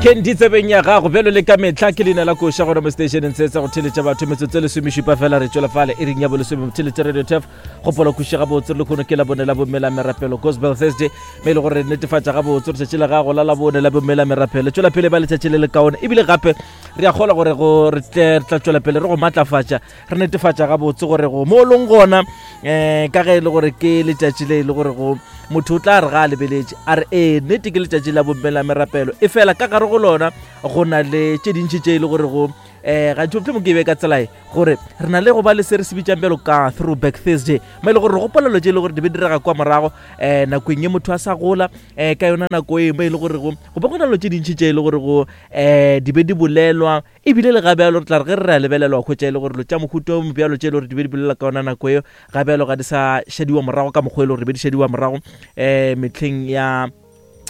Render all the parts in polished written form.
Candy tsebeng ya gago bjalo le ka mehla ke leina la koša gona mo stationeng se sa go theletša batho metsotso e lesomešupa fela re tšwela fale e reng ya bolesome theletša radio tef gopola kwešiša gabotse re lekgono ke labone la bomme la merapelo gospel thursday me e le gore re netefatša gabotse gore tšatši la gago la labone la bomme la merapelo tšwela pele ba letšatši le lekaone ebile gape re a kgola gore go re tle re tla tšwela pele re go matlafatša re netefatša gabotse gore go mo o leng gona um ka ge e le gore ke letšatši le e le gore go motho o tla re ga a lebeletše a re ee nnete ke letšatši la bomme la merapelo e fela ka gare go lona go na le tše dintši tše e le gore go um gantši mohlomong ke be ka tsela e gore re na le go ba le se re se bitsang bjalo ka throwback thursday mo e le gore re gopola dilo tše e le gore di be direga kwa morago um nakong ye motho a sa gola um ka yona nako e mo e le gore go go be go na dilo tše dintši tše e le gore go um di be di bolelwa Ebile le gabjalo re tla re ge re re a lebelela wa hwetša e le gore dilo tša mohuta o mobjalo tše e le gore di be di bolela ka yona nako eo gabjalo ga di sa šadiwa morago ka mokgwa e le gore di be di šadiwa morago um mehleng ya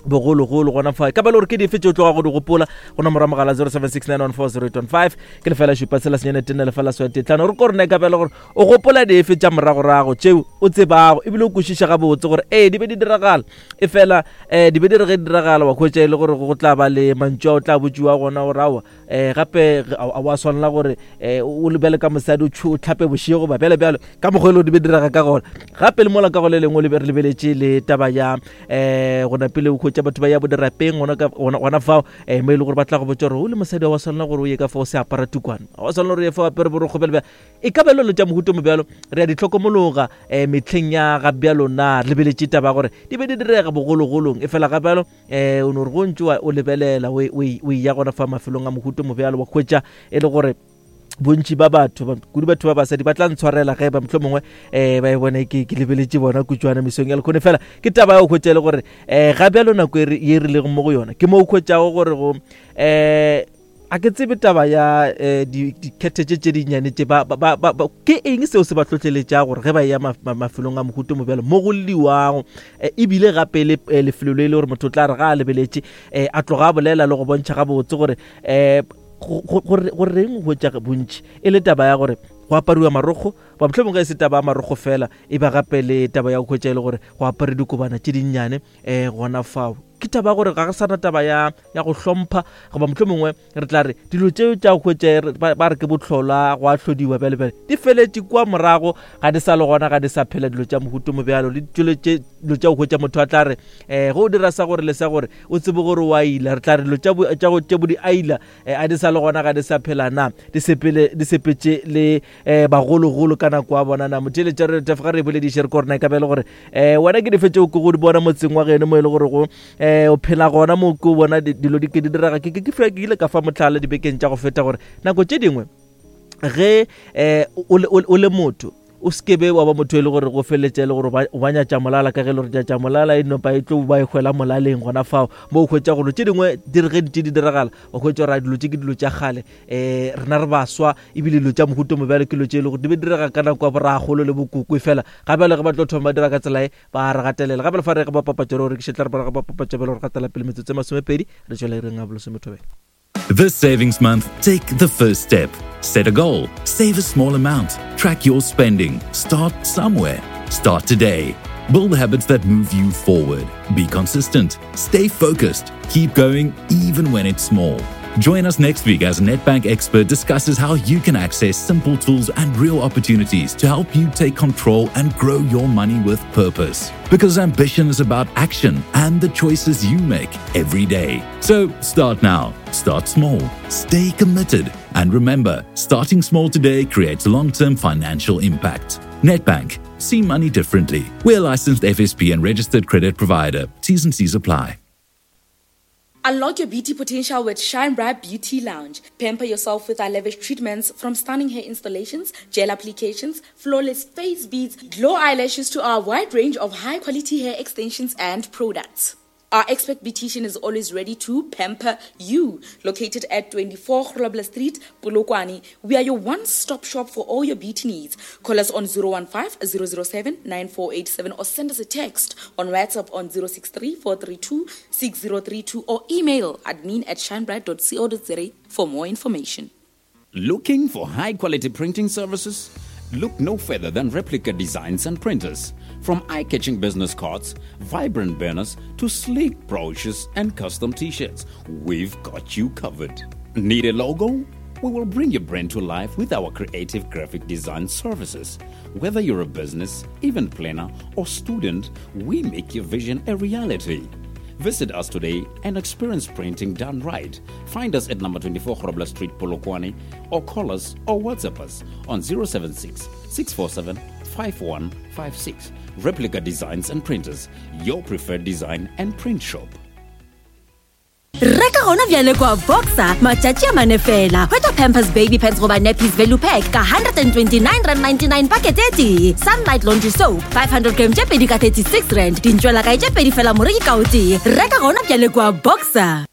bogologolo gona fa ka ba le gore ke dife tše o tloga go di gopola go nomoro ya mogala 0769140815 ke lefela šupa tshela senyane tenne lefela swete tlhano re ko rena ka bjale gore o gopola dife tša moragorago tšeo o tsebago ebile o kwešiša gabotse gore ee di be di diragala e fela um di be di re ge di diragala wa hwetša e le gore go tla ba le mantšu a o tla botšiwa gona gore aowa um gape a wa swanela gore um o lebele ka mosadi o tlhape bošego ba bjale bjalo ka mokgwa e le di be direga ka gona gape le mola ka go le lengwe re lebeletše le taba ya um gona pele o hwetša batho ba ya bodirapeng gona fao um mo e le gore ba tla go botša gore o le mosadi wa swanela gore o ye ka fao se apara tukwane wa swanela gore o ye fao apere borokgo bjale bjale E ka ba lelo tša mohuta mo bjalo re a di hlokomologa um mehleng ya ga bjalo na re lebeletše taba ya gore di be di direga bogologolong e fela ga bjalo um o no re go ntše o lebelela o eya gona fa mafelong a mohuta mo bjalo wa hwetša e le gore bontši ba batho kudu batho ba basadi ba tla ntshwarela ge ba mohlomongwe um eh, ba e bone ke ke lebeletše bona kutšwana mesong ya lekgone fela ke taba ya go hwetša e le gore um ga bjalo nako e ye re lego mo go yona ke mo o hwetšago gore go um A ke tsebe taba ya eh, dikhethe tše tše dinnyane tše ba, ba, ba, ba, ke eng seo se ba hlohleletšago gore ge ba eya ma, ma, mafelong a mohuta mo bjalo mo go lliwago eh, ebile gape le eh, lefelo le e le gore motho o tla re ga a lebeletše eh, a tloga a bolela le go bontšha gabotse gore eh, gore go reng go hwetša bontši e le taba ya gore go apariwa marokgo ba mohlomongwe ge e se taba ya marokgo fela e ba gape le taba ya go hwetša e le gore go apare dikobana tše dinnyane um gona fao ke taba ya gore ga re sana taba ya ya go hlompha goba mohlho mongwe re tla re dilo tšeo tša go hwetša ba re ke bohlola go a hlodiwa bjale bjale di feletše kua morago ga di sa le gona ga di sa phela dilo tša mohuto mo bjalo le dilo dilo tša go hwetša motho a tla re um ge o dira sa gore le sa gore o tsebe gore o a ila re tla re dilo tša bo di aila um a di sa le gona ga di sa phela na di sepele di sepetše le um bagologolo ka nako ya bona na motheeletša re tefa re bolediše re ko rena e ka be le gore um wena ke dife tšeo ke go di bona motseng wa geno mo e le gore go um o phela gona mo ke o bona dilo di ke di direga ke ke ile ka fa motlhala dibekeng tša go feta gore nako tše dingwe ge um o le motho o se kebe wa ba motho e le gore go feleletša e le gore o ba nyatša molala ka ge e le gore nyatša molala e nopa e tlo ba e hwela molaleng gona fao mo o hwetša gore tše dingwe di re ge di tše di diragala o hwetša gore dilo tše ke dilo tša kgale um rena re baswa ebile dilo tša mohuta mo bjalo ke dilo tše e le gore di be direga ka nako ya boragolo le bokoko fela ga bjale ge ba tlo thoma ba dira ka tsela e ba re gatelela ga bjale fa re ge ba papatša re rekiše tla re ba ba papatša bjale gore gatela pele metsotso e masomepedi re tšwela ireng ya bolesomethobela This savings month, take the first step. Set a goal, save a small amount, track your spending, start somewhere. Start today. Build habits that move you forward. Be consistent, stay focused, keep going even when it's small. Join us next week as Nedbank expert discusses how you can access simple tools and real opportunities to help you take control and grow your money with purpose. Because ambition is about action and the choices you make every day. So start now, start small, stay committed, and remember starting small today creates long term financial impact. Nedbank, see money differently. We're licensed FSP and registered credit provider. T's and C's apply. Unlock your beauty potential with Shine Bright Beauty Lounge. Pamper yourself with our lavish treatments from stunning hair installations, gel applications, flawless face beads, glow eyelashes to our wide range of high quality hair extensions and products. Our expert beautician is always ready to pamper you. Located at 24 Grobler Street, Polokwane, we are your one-stop shop for all your beauty needs. Call us on 015 007 9487 or send us a text on WhatsApp on 063 432 6032 or email admin at shinebright.co.za for more information. Looking for high quality printing services? Look no further than Replica Designs and Printers. From eye catching business cards, vibrant banners, to sleek brochures and custom t shirts, we've got you covered. Need a logo? We will bring your brand to life with our creative graphic design services. Whether you're a business, event planner, or student, we make your vision a reality. Visit us today and experience printing done right. Find us at number 24 Grobler Street, Polokwane, or call us or WhatsApp us on 076 647 5156. Replica Designs and Printers, your preferred design and print shop. Reka gona bjale kwa Boxer matšatši a mane fela. Hwetša Pampers Baby Pants goba Nappies Value Pack ka R129.99 pakete e tee. Sunlight Laundry Soap 500 gram tše pedi ka R36. Dintšwelakae tše pedi fela moreki ka o tee. Reka gona bjale kwa Boxer.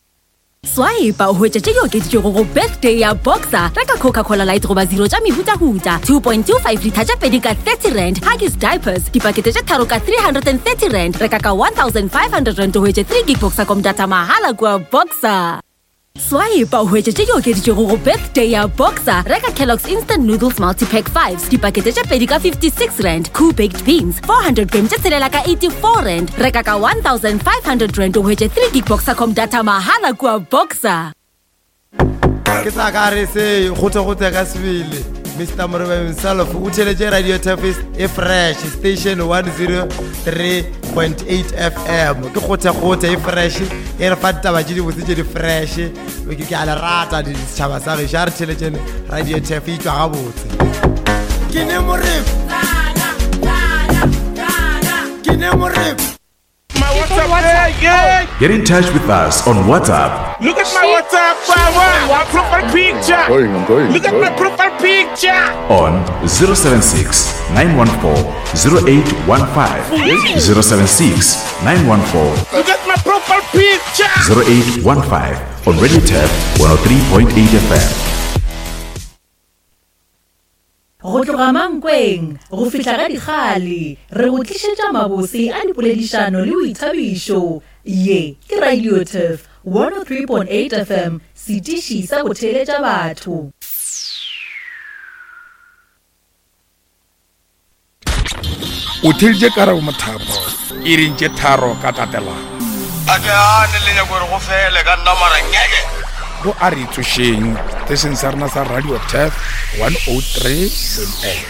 Swipe o hwetše tše di okeditšwego go birthday ya Boxer. Reka Coca-Cola Light goba Zero tša mehutahuta 2.25 litha tše pedi ka R30. Huggies Diapers dipakete tše tharo ka R330. Reka ka R1500 o hwetše 3 gig Boxercom data mahala kua Boxer. Swipe o hwetše tše di okeditšwego go birthday ya Boxer. Reka Kellogg's Instant Noodles Multipack 5 dipakete tše pedi ka R56. Koo Baked Beans 400 gram tše tshelela ka R84. Reka ka R1500 o hwetše 3 gig Boxercom data mahala kua Boxer. Ke sa ka re se gote-gote ka sebele. Mr. Morebe himself o theletše Radio Tafis e fresh station 103.8 FM. Ke gote-gote e fresh e re fa ditaba tše dibotse tše di fresh. Ke a le rata setšhaba sa gešo a re theletšene Radio Taf e tšwa gabotse. Ke ne Morebe. Ke ne Morebe. My WhatsApp. Hey, Get in touch with us on WhatsApp Look at my WhatsApp. My profile picture. I'm going, I'm going. Look at my profile picture. on 076 914 0815. 076 914 Look at my profile picture. 0815 on Radio Tap 103.8 FM. Go tloga Mankweng go fihla ga Dikgale, re go tlišetša mabose a dipoledišano le boithabišo. Ye ke Radio Turf 103.8 FM, setiši sa go theeletša batho. O theeditše Karabo Mothapo iring tše tharo ka tatelano. A ke gane le nyako gore go fele ka nna mara ngeke. Go a re tsošeng station sa rena sa Radio Turf 103.8.